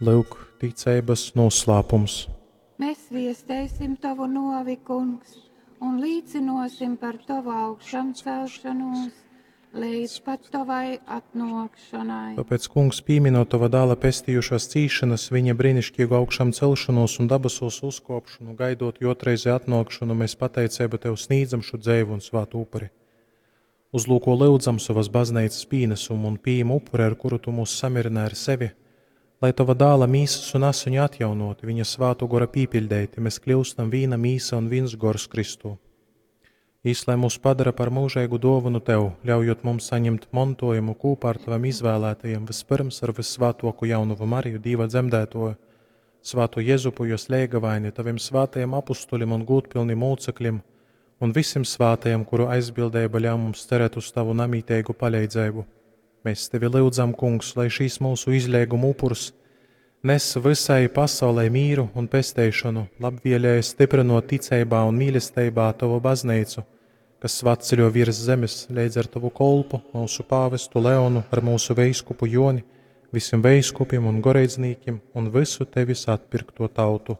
Lyuk, ticeibas noslāpums. Mēs viesteisim tovu novi, kungs, un līcinosim par tovu augšamcelšanos līdz pat tovai atnākšanai. Tāpēc, Kungs, pieminot tava dēla pestījušās cīšanas, viņa brīnišķīgu augšām celšanos un dabasūs uzkopšanu, gaidot jotreizi atnākšanu, mēs pateicību tev sniedzam šo dzēvu un svātu upuri. Uzlūko lūdzam savas baznīcas pienesumu un pieejam upuri, ar kuru tu mūs samirinā ar sevi, lai tava dēla mīsas un asiņu atjaunoti, viņa svātu gora pīpiļdeiti, mēs kļūstam vīna mīsa un viens gors Kristū. Īs, lai mūs padara par mūžīgu dāvanu tev, ļaujot mums saņemt mantojumu kopā ar taviem izvēlētajiem, vispirms ar vissvētāko jaunavu Mariju, Dieva dzemdētoju, svāto Jezupu, jos lēgavaini, taviem svētajiem apustuļiem un gūtpilniem mūcekļiem, un visiem svētajiem, kuru aizbildība ļauj mums cerēt uz tavu namītīgu palīdzību. Mēs tevi lūdzam, kungs, lai šīs mūsu izlieguma upurs nes visai pasaulē mīru un pesteišanu, labvēlēji stiprinot ticībā un mīlestībā tavu baznīcu, kas svatceļo virs zemes līdz ar tavu kolpu, mūsu pāvestu Leonu, ar mūsu veiskupu Joni, visiem veiskupiem un goreidznīkiem un visu tevis atpirkto tautu.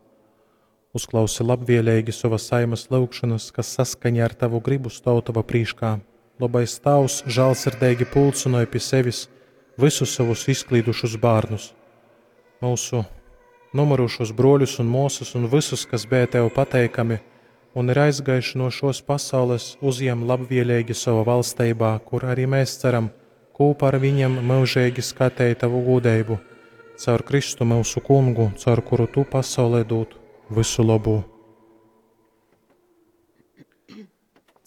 Uzklausi labvēlīgi savas saimas lūgšanas, kas saskaņā ar tavu gribu stāv tava prīškā. Labais tavs žēlsirdīgi pulcinoja pie sevis visus savus izklīdušus bērnus, mūsu nomirušos broļus un māsas un visus, kas bija tev pateikami un ir aizgājuši no šos pasaules, uzņem labvēlīgi savā valstībā, kur arī mēs ceram kopā ar viņiem mūžīgi skatīt tavu gudrību, caur Kristu mūsu kungu, caur kuru tu pasaulē dod visu labu.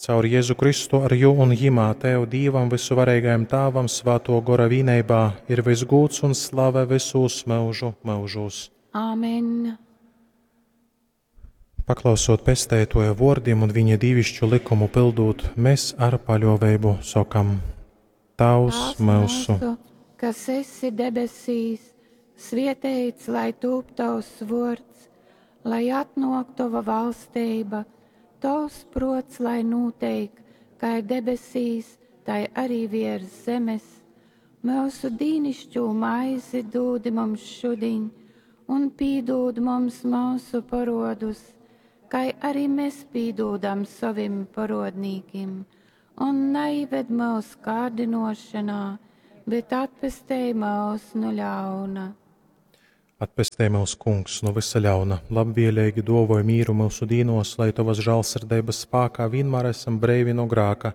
Caur Jēzu Kristu ar jū un jimā Tev Dīvam visuvarīgajam Tāvam svāto gora vīneibā ir visgūts un slave visos mūžu mūžos. Āmen! Paklausot pestētoja vārdiem un viņa dīvišķu likumu pildūt, mēs ar paļāvību sokam: Tavs mūsu, kas esi debesīs, svietēts, lai tūp tavs vārds, lai atnāk tava valstība, tavs prots, lai notiek, kā debesīs, tai arī virs zemes. Mūsu dīnišķo maizi dūdi mums šodien, un pīdūd mums mūsu parodus, kā arī mēs pīdūdam savim parodnīkim, un neived mūs kārdinošanā, bet atpestej mūs no ļauna. Atpestē mūs, kungs, no visa ļauna, labvēlīgi dovoj mīru mūsu dīnos, lai tavas žēlsirdības spēkā vienmēr esam breivi no grāka,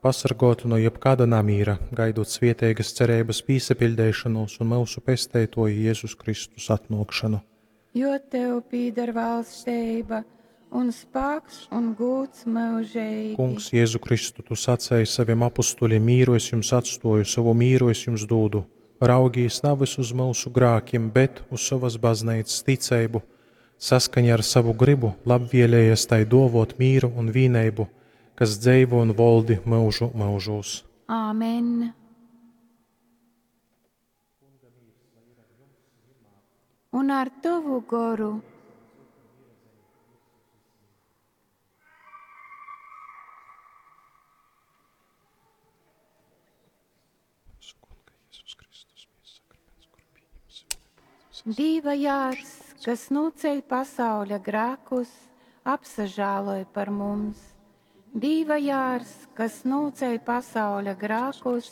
pasargoti no jebkāda namīra, gaidot svietēgas cerības pīsapildīšanos un mūsu pestētoju Jēzus Kristus atnākšanu. Jo tev pīdar valstība un spēks un gūts mūžīgi. Kungs, Jēzu Kristu, tu sacēji saviem apustuļiem, mīru es jums atstoju, savu mīru es jums dodu. Raugīs nevis uz mūsu grākiem, bet uz savas baznīcas ticību, saskaņā ar savu gribu, labvēlējies tai dovot mīru un vīneibu, kas dzeivo un voldi mūžu mūžos. Āmen! Un ar tavu goru. Dīva jārs, kas noceļ pasauļa grēkus, apsažāloj par mums. Dīva jārs, kas noceļ pasauļa grēkus,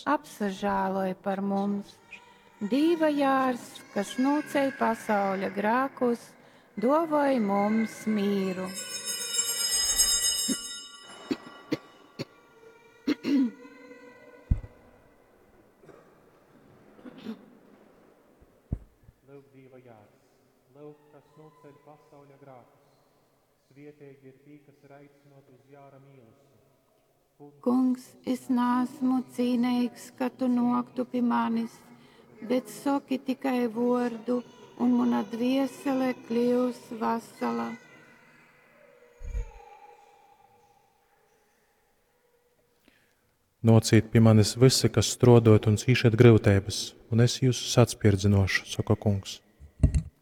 apsažāloj par mums. Dīva jārs, kas noceļ pasauļa grēkus, dovoj mums mīru. Lūk, Dieva jārs, lūk, kas noceļ pasauļa grēkus. Svietīgi ir tī, kas ir aicināti uz jāra mīlestību. Kungs, es neesmu cīnīgs, ka tu noktu pie manis, bet soki tikai vordu, un mana dviesele kļūs vasala. Nocīt pie manis visi, kas strodot un cīšat grūtības, un es jūs atspirdzinošu, saka kungs.